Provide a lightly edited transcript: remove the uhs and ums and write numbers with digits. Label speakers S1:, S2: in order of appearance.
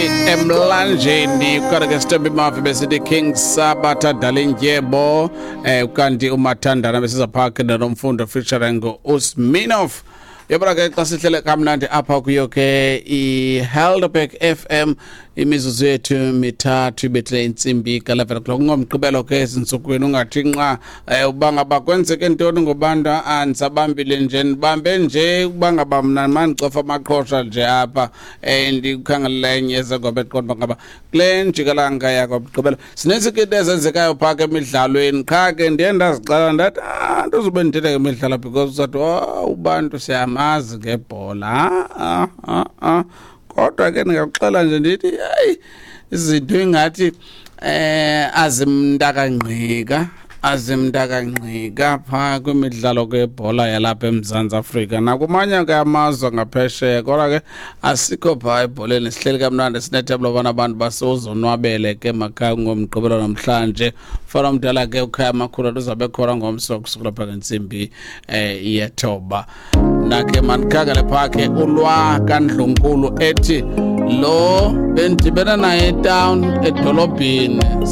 S1: Emlanjeni kanti ke Sithemba Mafi besithi King Sabatha Dalindyebo, kanti uMathandana besiza pha ke noMfundo featuring uSminoff. Yabona ke, xa sihlele kamnandi apha kuyo ke iHelderberg FM, imizuzu yethu 3 ibethile intsimbi ka-11 o'clock ngoMgqibelo ke ezintsukwini. Ungathi nqa uba ngaba kwenzeke ntoni ngobantu, andisabambile nje, ndibambe nje ukuba ngaba mna mandicofa amaqhosha nje apha, ndikhangelela enye ezengoba eqonda uba ngaba kule njikalanga yakwamgqibelo sinintsi ke into ezenzekayo phaa ke emidlalweni. Qha ke ndiye ndazixela ndathi, ah, ndizube ndithetha ngemidlalo because uzathi, oh, ubantu siyamazi ngebhola. Ah, ah, ah, ah. Kodwa ke ndingakuxela nje ndithi, hayi, izinto ingathi azimntakangqika, azimntakangqika phaa kwimidlalo kwebhola yalapha eMzantsi Afrika nakumanye ke amazwe ngaphesheya. Kodwa ke asikho phaa ebholeni, sihleli kamnandi, sinethemba lobana abantu basozonwabele ke makhaya ngoMgqibelo namhlanje. Mfana omdala ke ukhaya amakhulu uzabe khona ngomso kusukela phaa ngentsimbi 9. Nakhe mandikhangele phaa ke ulwa kaNdlunkulu ethi lo bendidibene naye etown edolobhini.